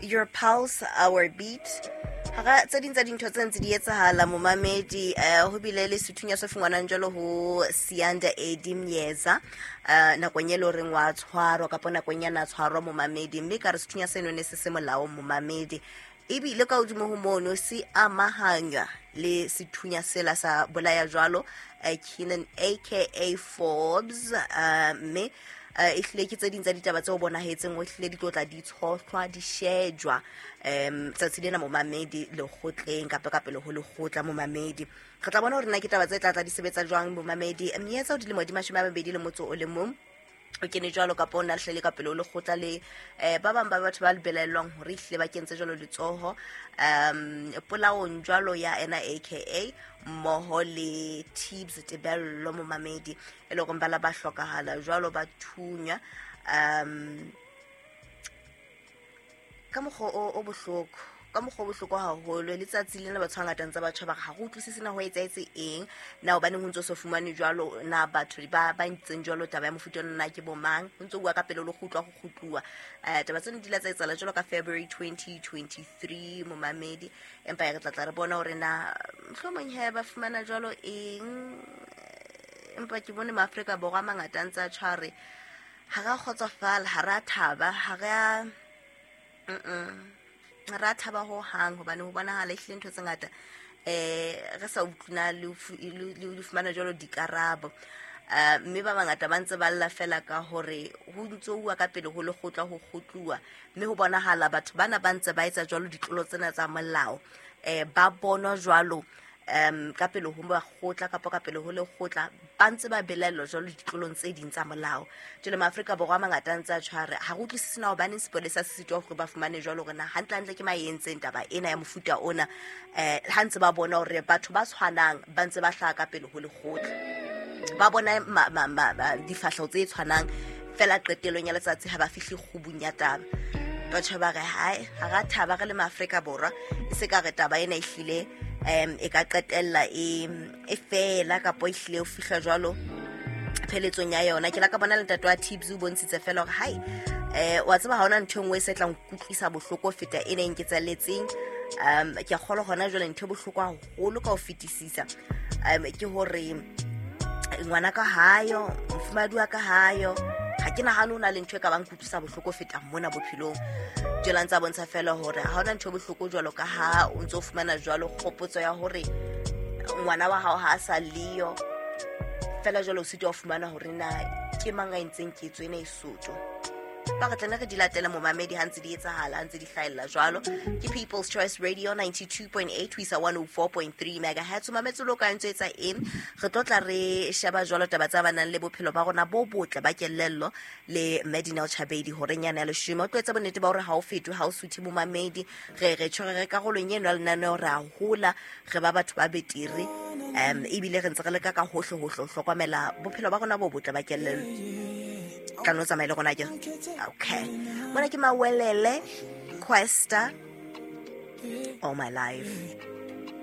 Your pulse, our beat. Hara tse ding tsa dintho tse ntse di etsahala, momamedi, ho bile le sethunya se fungwanang jwalo ho Sianda Edi Myeza, nakong e le horeng wa tshwarwa kapa nakong ya na tshwarwa, momamedi, mme ka re sethunya seno ne se se molaong, momamedi, ebile ka hodimo ho mono se amahanywa le sethunya sela sa bolaya jwalo Keenan aka Forbes, mme e hlile ke tse ding tsa ditaba tseo bonahetseng o hlile di tlo tla di tshohlwa, di shejwa tsatsi lena, momamedi, lekgotleng kapa ka pele ho lekgotla, momamedi. Re tla bona hore na ke taba tse tla tla di sebetsa jwang, momamedi. Myeza o dilemo di 21, o kene jwalo kapa o na hlele ka pele o lekgotla le ba bang ba batho ba belaellwang hore ehlile ba kentse jwalo letsoho polaong jwalo ya ena aka mmoho le Tibz Tebello, momamedi, e le gore ba la ba hlokahala jwalo, ba thunywa ka mokgwa o bohloko, ka mokgwa o bohloko haholo. Letsatsi lena batho ba ngata ntse ba tjho, ba re ha re utlwisise na ho etsahetse eng, na hobaneng ho ntso so fumane jwalo, na batho ba ntseng jwalo taba ya mofuta ona na ke bo mang. Ho ntso bua ka pele le kgutlwa ho kgutluwa. Taba tseno di la tsa etsahala jwalo ka February 2023, momamedi, empa ya re tla tla re bona hore na mohlomong he ba fumana jwalo eng. Empa ke bone Maafrika Borwa a mangata a ntse a tjho, a re ha re a kgotsofala, ha re a thaba, ha re a ra thaba ho hang, hobane ho bonahala ehlile ntho tse ngata re sa utlwana le fumana jwalo dikarabo. Mme ba bangata ba ntse ba lla fela ka hore ho ntso uwa ka pele ho lekgotla ho kgutluwa, mme ho bonahala batho bana ba ntse ba etsa jwalo ditlolo tsena tsa molao, ba bonwa jwalo ka pele ho makgotla kapa ka pele ho lekgotla, ba ntse ba belaellwa jwalo ditlolong tse ding tsa molao. Jwale Maafrika Borwa a mangata a ntse a tshware ha re utlwisise na hobaneng sepolesa se sitwa hore ba fumane jwalo hore na hantlehantle ke mang e entseng taba ena ya mofuta ona, ha ntse ba bona hore batho ba tshwanang ba ntse ba hlaha ka pele ho lekgotla, ba bona difahleho tse tshwanang fela, qetellong ya letsatsi ha ba fihle kgubung ya taba. Batho ba re hae, ha ra thaba re le Maafrika Borwa, e se ka re taba ena ehlile e ka qetella e fela kapa e hlile o fihla jwalo pheletsong ya yona. Ke la ka bona le ntate wa Tips o bontshitse fela hore hai, wa tseba, ha hona ntho e nngwe e se tlang kutlwisa bohloko ho feta e neng ke tsalletseng. Ke a kgolwa hona jwale ntho e bohloko haholo ka ho fetisisa ke hore ngwana ka hayo, mofumahadi wa ka hayo, ha ke nahane ho na le ntho e ka bang kutlwisa bohloko ho feta mona bophelong. Jwale a ntse a bontsha fela hore ha hona ntho e bohloko jwalo ka ha o ntso fumana jwalo kgopotso ya hore ngwana wa hao ha a sa leyo fela, jwale o sitwa ho fumana hore na ke mang a entseng ketso ena e soto. Ba re tlane re di latele, momamedi, ha ntse di etsahala, ha ntse di hlahella jwalo. Ke People's Choice Radio 92.8 ho isa 104.3 megahertz. Mametse lo ka ntse etsa eng? Re tlo tla re sheba jwalo taba tsa banang le bophelo ba rona bo botle ba kelello le Medinal Chabedi horeng yana ya 10. O tlo etsa bonnete ba hore ha o fetwe, ha o suthe, momamedi. Re tjhore re karolong eno ya lenaneo, re a hola, re ba batho ba betere, ebile re ntse re leka ka hohle hohle ho hlokomela bophelo ba rona bo botle ba kelello. Tla no tsamaye le rona ke okay. Mona ke Mawelele Questa, All My Life.